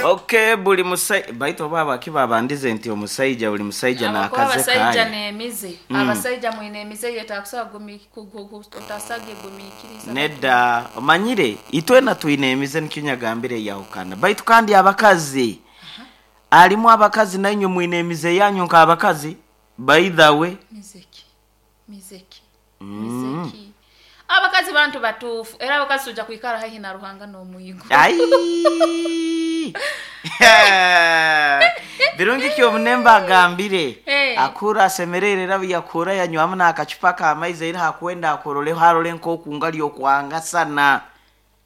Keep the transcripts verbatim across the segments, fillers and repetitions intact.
Okay, buli musai baitu baba kibabandize nti omusaija buli musaija Abakuba n'akaze abasajja kaye. N'emize. Mm. Abasajja mwine emize yetakusobola gumi- ku- ku- ku- otasage gumiikiriza. Nedda, omanyire itwena twine emize, nikyo nyagambire yahukana. Baitu kandi abakazi, alimu abakazi nainywe mwine emize yanyu nk'abakazi, by the way. Mizeki, mizeki, mizeki. Abakazi bantu batuufu, era abakazi tujja kwikara haihi na Ruhanga n'omwigo. Ai! Birungi kyomunemba agambire. Eh. Akura asemerere, era yakura yanywamu n'akacupa k'amaizi, era hakwenda akuroleho arole nk'okunga lyokwangasana.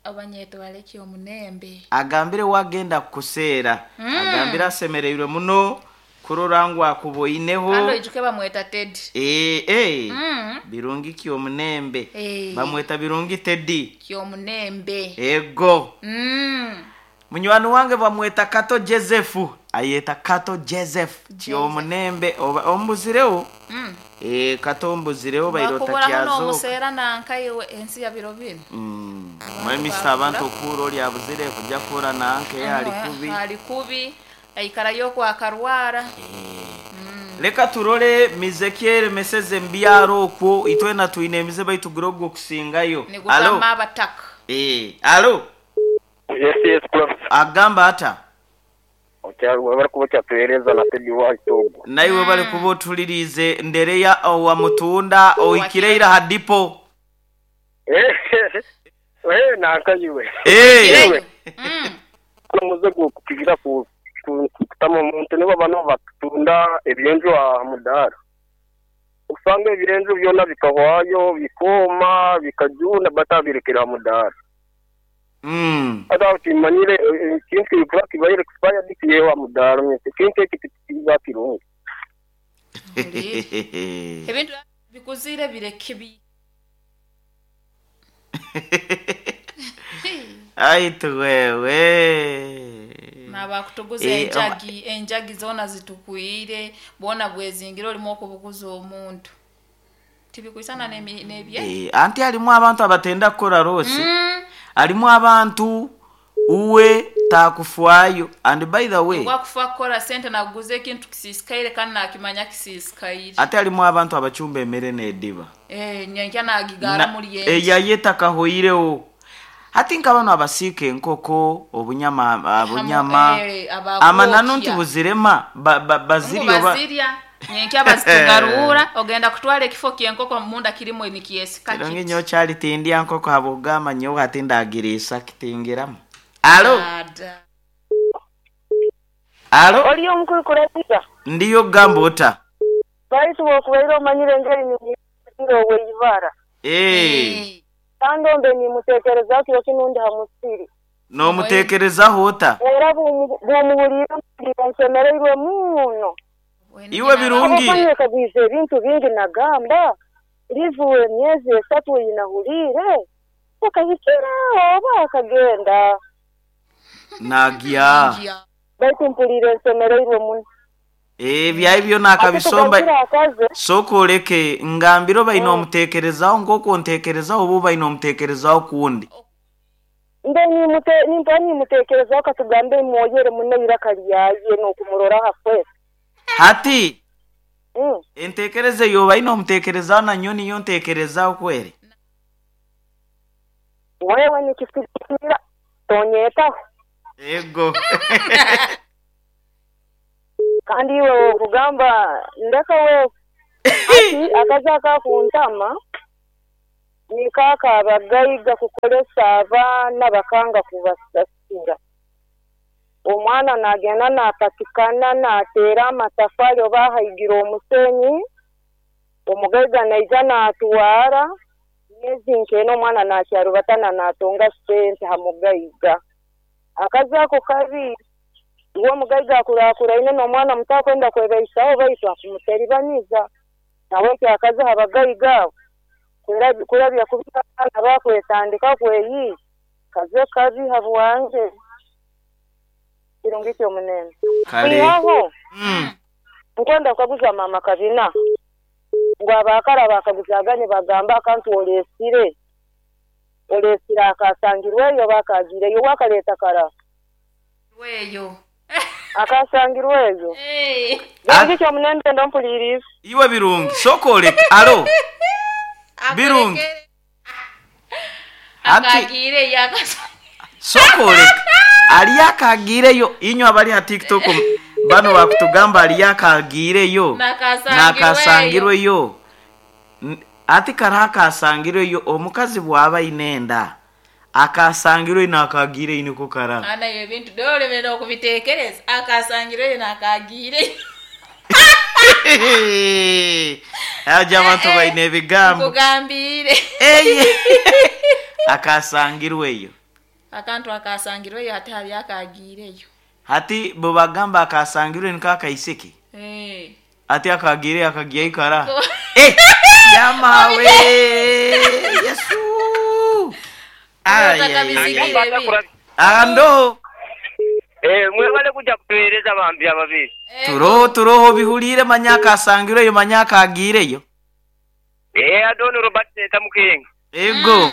Abanyeto baleki omunembe. Agambire wagenda kukuseera. Agambire asemereirwe muno kurora ngu akuboineho. Kandi oijuke bamweta Tedi. Eh, eh. Mm. Birungi kyomunembe. Eh. Bamweta Birungi Tedi. Kyomunembe. Ego. Mm. Munywani wange bamweta Kato Joseph, ayeta Kato Joseph kyomunembe. Oba ombuzirewo. Mm. Eh, Kato ombuzirewo bairota Bakuburaho kyazoka. n'omuseera nankaiwe ensi ya biro bino. Mm. Mwemisa abantu okuura oli abuzire kujja kuura nanke ali kubi. Ali kubi, aikarayo kwakarwara. Leka turole mizekyere meseze mbyaro okwo itwena twine emize baitu gura okusingayo. Alo. Nigutama abataka. Eh, alo. Yes, yes, prof. Agamba ata. Bari kuba kyatuhereza na Teddy White ogwo. Naiwe bali kuba otulirize ndereya owa mutunda oikireira ha dipo. Eh, eh, nankayiwe. Eh. Kireyo. Mm. Omuze gukukigira ku ku- kutama omuntu nibo bano batunda ebyenju aha mudaara. Usanga ebyenju byona bikahwayo, bikooma, bikajuna, batabirekera aha mudaara. Mm. Ata kimanyire ekintu kikuba kibaire expired kiyewa mudaara, ekintu eki tikiba kirungi. Ebintu bikuzire bireke bi. Aitu wewe. Nabakutuguza Eh, enjagi, enjagi zona zitukwire, bona bwezingira olimu okubuguza omuntu. Tibikwisana n'emi- n'ebye. Eh, anti alimu abantu abatenda kukora rosi. Mm. Alimu abantu uwe takufwayo, and by the way, Wakufa kukola sente nakuguza ekintu kisisikaire kandi nakimanya kisisikaire. Ate alimu abantu abacumba emere n'ediba. Eh, nyenkya nagigara Na- muri yenje. eyaye takahoirewo. Ati nka bano abasiika enkoko, obunyama, obunyama, eh, abakwokya. amananu nti buzirema ba- ba- Ngu bazirya oba bazirya nyenkya bazitugarura, ogenda kutwala ekifo ky'enkoko munda kirimu nikyesika. Kirungi nyo kyali tindya nkoko habwogamba nyowe ati ndagiriisa kitingiramu. Alo. Ada. Alo. Oli omukulu kurabiza. Ndiyo, gamba ota. Baitu wokubaire omanyire engeri nimuzire oweibara. Eh, kandi ombe nimuteekerezaho kiro kinu ndi ha musiri. N'omuteekerezaho ota? Era bw'omu- bw'omuhuliire mpulira nsemereirwe muno. Iwe Birungi. Habwokuba ebintu bingi nagamba rivuwe emyezi esatu eyinahuliire akahikira oba akagenda. Nagya. Baitu mpulire nsemereirwe muno. Ebyayi byona akabisomba. Ate tugarukiire akaze. Sooka oleke ngambire obaine omuteekerezaho nk'oku onteekerezaho oba obaine omuteekerezaho kundi. Mbe nimute- nimpa nimuteekerezaho katugambe mwoyere muno iraka lyaye n'okumurora hafwe. Hati Mm. enteekereza eyo obaine omuteekerezaho nanyo niyo nteekerezaho kweri. Wewe nikisikira tonyetaho. Ego. Kandi iwe okugamba ndeka wewe ati akazi akakuntama nikaaka abagaiga kukolesa abaana bakanga kubasasura. Omwana nagenda napatikana nateera amatafari oba ahaigira omusenyi, omugaiga naija natwara myezi nkeena, omwana nakyarubatana natonga sente ha mugaiga. Akazi ako kabi. Iwe omugaiga akurakuraine n'omwana muto akwenda kwebaisaho baitu akumuteribaniza. Nawe kyakazi abagaiga abo Kurabi- kurabya kubi abaana bakwetandika kweyiiya kaze kabi habwange. Kirungi kyomunene. Kale. Kwihaho Mm. nkwenda kukaguza mama Kabina ngu abakara bakaguzaganye bagamba akantu olesire olesire akasangirweyo bakagireyo wakaleeta kara. Eyo. Akasangirweyo. Eh. Birungi kyo munende ndompuliriza. Iwe birungi sokoleka alo. Birungi. Ati- Akagiire yakasangirwe. Sokoleka ali akagiireyo inywe abali ha TikTok bano bakutugamba ali akagiireyo Nakasangirweyo. nakasangirweyo. N- ati karaha akasangirweyo omukazi bwaba aine enda akasangirwe nakagiireyo niko karaha. Ana ebyo ebintu dolemera okubiteekereza akasangirweyo nakagiireyo. Aja abantu baine ebigambo. Nkugambire. Eye. Akasangirweyo. Akantu akasangirweyo ate hali akagiireyo. Hati bwebagamba akasangirwe niko akaisiki. Eh. Ati akagiireyo akagiyayo karaha. Eh, yamawe Yesu. Ay, ay, ay, ay. Ando Eh, mwebale kujja kutuweereza bambi ababiri. turoho turoho bihulire manya akasangireyo manya akagiireyo. Eh, Adoni Robert Senta Mukenga. Ego.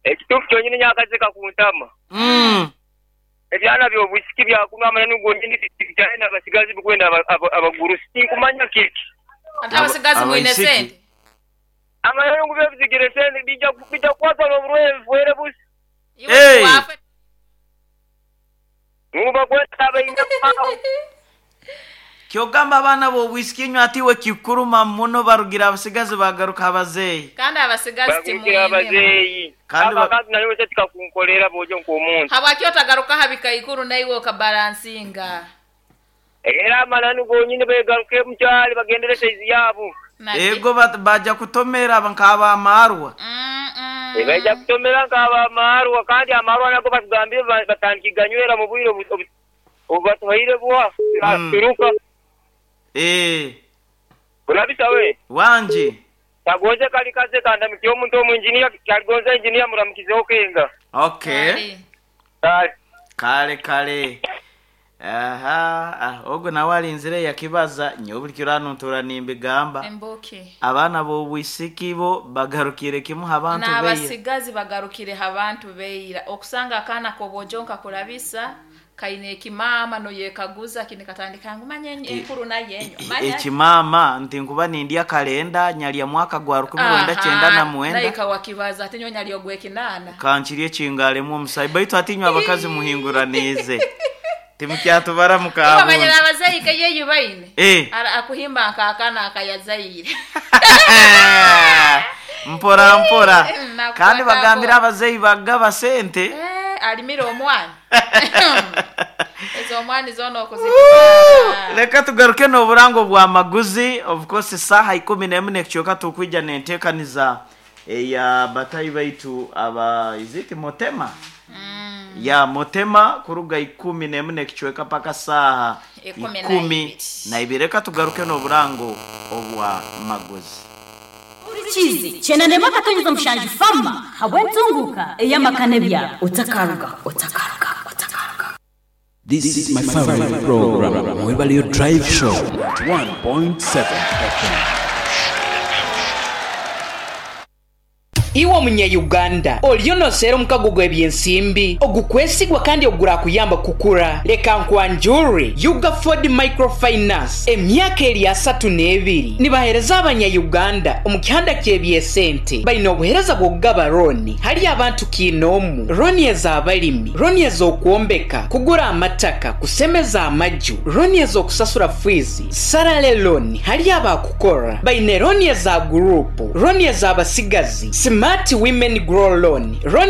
Ekituufu kyonyini nyakazika ku ntama. Mm. Ebyana by'obwisiki byakunwa amananu gonyini bikyalina abasigazi bikwenda aba- aba- abagurusi. Tinkumanya kiki. Ate abasigazi mwine Abaisiki. sente. Amananu gube bizigire sente bijja bijja kukwata n'obulwaire bifuere busi. Iwe Hey. wafe. Nguba kweta abaine kubaho. Kyogamba abaana b'obwisiki inywe atiwe kikuruma muno barugira abasigazi bagaruka abazeeyi. Kandi abasigazi Bagurukira timwine. abazeeyi. Kandi ba- Abakazi nayo wese tikakunkolera bw'ojo nk'omuntu. Habwaki otagaruka ha bikaikuru naiwe okabalansinga. Era amananu gonyini begaruke mukyali bagendere saizi yaabo. Naki? Ego bat- baja kutomera nk'abamarwa. Mm, mm. Baija kutomera nk'abamarwa kandi amarwa nago batugambire ba- batandika mu bwire obu- obu- obubatuhaire bwa Mm. turuka. Eh, Kulabisa we. wanje. Kagonze kali kaze kandamikiye omuntu omu engineer kaligonze engineer muramukizeho kenga. Okay. Kale. Kale. Kale kale. Aha, ah, ogwo nawe alinzire yakibaza nyowe buli kiro hano ntuura nimbigamba. Embuki. Abaana b'obwisiki bo bagarukire kimu abantu beira. N'abasigazi bagarukire abantu beira. Okusanga akaana k'obwojo nkakurabisa kaine ekimaama noyekaguza kini katandika ngu manya enyo- enkuru naye enyo. Manya- Ekimama nti nkuba nindya kalenda nyalya mwaka gwa rukumi rwenda kyenda na mwenda. Naika wakibaza ate nyonya ali ogw'ekinaana. Kankiri ekingalemu omusayi baitu atinywe abakazi muhinguraniize. Timukyatubara Iwe manyira mukabunda. abazeeyi keyeyo baine. Eh. Ara akuhimba nk'akaana akayazaire. Mpora mpora. Nakukwata Kandi bagambira mpora. abazeeyi bagaba sente. Eh, alimira omwana. Ezo omwani zoona okuzitwara. Reka tugaruke n'oburango bwa maguzi of course saha ikumi n'emu n'ekicweka tukwija n'enteekaniza eya batayi baitu aba iziti motema Mm. ya motema kuruga ikumi n'emu n'ekicweka paka saha Ikumi na ikumi ibiri. na ibiri. Reka tugaruke n'oburango obwa maguzi. Chizi chenanema akatonyeza mushanju fama habwentunguka eyamakane bya otakaruga otakaruga otakaruga. This is my favorite program, Mwebalio Drive Show, one point seven F M. Iwe omunyayuganda oliyo noseera omukago gw'ebyensimbi ogukwesigwa kandi ogurakuyamba kukura. Leka nkwanjure Ugaford Microfinance emyaka eri asatu n'ebiri nibahereza abanyayuganda omu kihanda ky'ebyesente. Balina obuhereza bw'okugaba roni hali abantu kiinoomu, roni ez'abalimi, roni ez'okwombeka, kugura amataka, kusemeza amaju, roni ez'okusasura fiizi, sarale loni hali abakukora. Baine roni eza gurupu, roni ez'abasigazi, Smart Women Grow Loan, roni